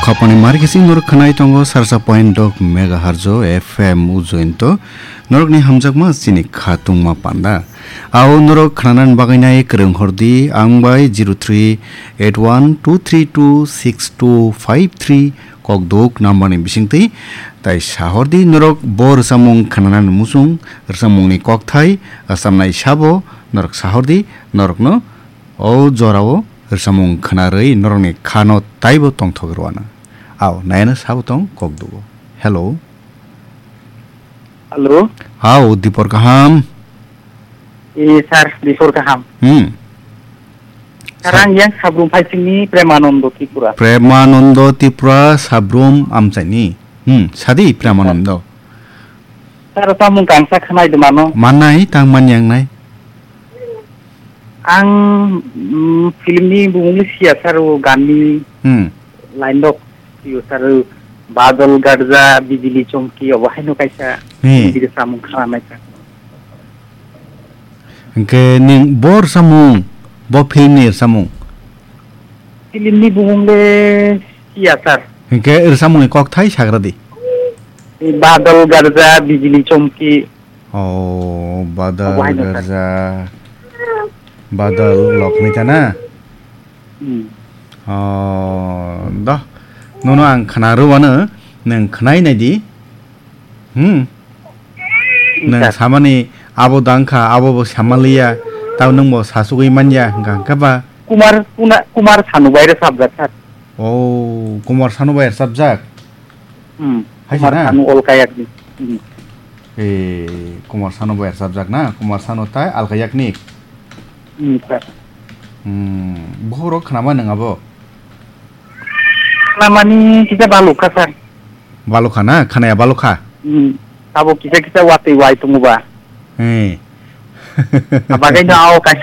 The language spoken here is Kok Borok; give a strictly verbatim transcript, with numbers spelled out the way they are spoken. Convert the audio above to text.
Khopani markising norok khwnai tongo sarsa point dok megahertz o F M ujointo. Norokni hamjakma chini kha tungma panda. Ao norok khwnanani bagwi nai kwrwng hordi ang bai zero three eight one two three two six two five three kokduk number ni bisingtwi. Tai sahordi norok bo rwchapmung khwnanani muchung, rwchapmungni kokthai, rwchapnai sabo norok sahordi norokno o jorao rwchapmung khwnarwi norokni khano taibo tongthok rwano. Ao, nayano sabo tong kokdugo. Hello. Hello. Hao, dipor kaham. E, sir, dipor kaham. Hmm. Sir, ang yang Sabrum Phaisingni Premanando Tripura. Premanando Tripura, Sabrum Amchaini. Hmm, sadi Premanando. Sir, tamo kangsa khwnai de mano. Manai, tang man yang nai. Ang, mm, film ni bumung le siya sir, o gan ni Hmm. line rok siyo sir, o Badal Garja, Bijili Chomki, obo haino kaisa Hmm. Hindi samung khana nai sir. Hingke ning bor samung, bo film ni samung. Film ni bumung le siya sir. Hingke rwchapmungni kokthai sagradi. Badal Garja, Bijili Chomki. Oh, Badal Obo haino sir. Garja. Badal Lokmita na? Hmm. Oh, doh. Nono ang khna rwano, nwng khnai nai di. Hmm. Hmm, Nwng sir. Samani abo dangkha, abo bo samaliya, tao nwng bo sasugwi manya, hingka hingka ba. Kumar, Kuna-, Kumar Sanu bai rwchapjak, sir. Oh, Kumar Sanu bai rwchapjak? Hmm. Hai Kumar sana? Sanu Olkayak ni. Hmm. Eh, Kumar Sanu bai rwchapjak na? Kumar Sanu tai Alkayak ni? Hmm, sir. Hmm, bohrok khnama nwng abo? Khnamani kisa balukha, sir. Balukha na? Khanaya balukha? Hmm. Abo kisa kisa watwi wai tongo ba. Eh. Abagwi no ao kaisa